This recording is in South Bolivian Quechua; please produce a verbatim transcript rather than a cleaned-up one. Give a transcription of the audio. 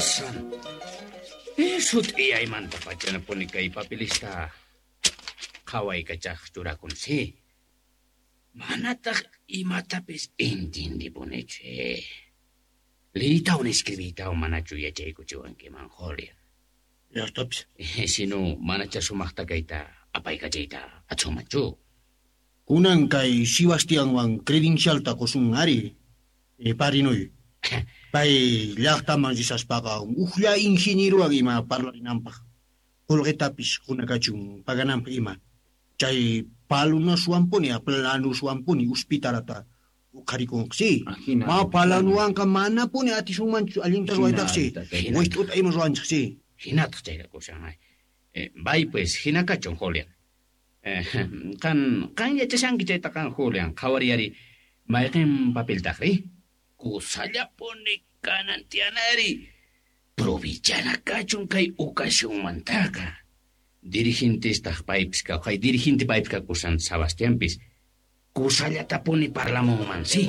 Dios santo. Eh, sut'iyaymantapachanapuni kay papelista qhawaykachaj churakun, sí. Manataq imatapis intindipunichu, eh. Liytawan escribiytawan manachu yachaykuchiwankiman, Julian. Llaqtapis. Eh, sino manacha sumaqta kayta apaykachayta atsunmanchu. Kunan kay Sebastianwan credencialta qusun ari. E, parinuy. Pay llaqtaman risaspaqa ujlla ingenierowan ima parlarinanpaq. Qullqitapis qunakachun pagananpaq ima. Chay palunaswanpuni, planuswanpuni hospitalata uqharikunqa, Ajina. Ma palanuwanqa manapuni atisunmanchu allinta ruwaytaqsi. Hina. Wist'uta ima ruwanchik, si. Hinataq chayra kushan. Eh, bay pues hina kachun, Julian. Eh, qan qan yachashanki chayta qan, Julian, qhawariyari mayqin papeltaqri? Kusallapuni kanan tiyanari. Provichana kachun kay ocasionmantaqa. Dirigentestaq paypis kay dirigente paypis kakusan Sebastianpis. Kusallatapuni parlamunman, sí.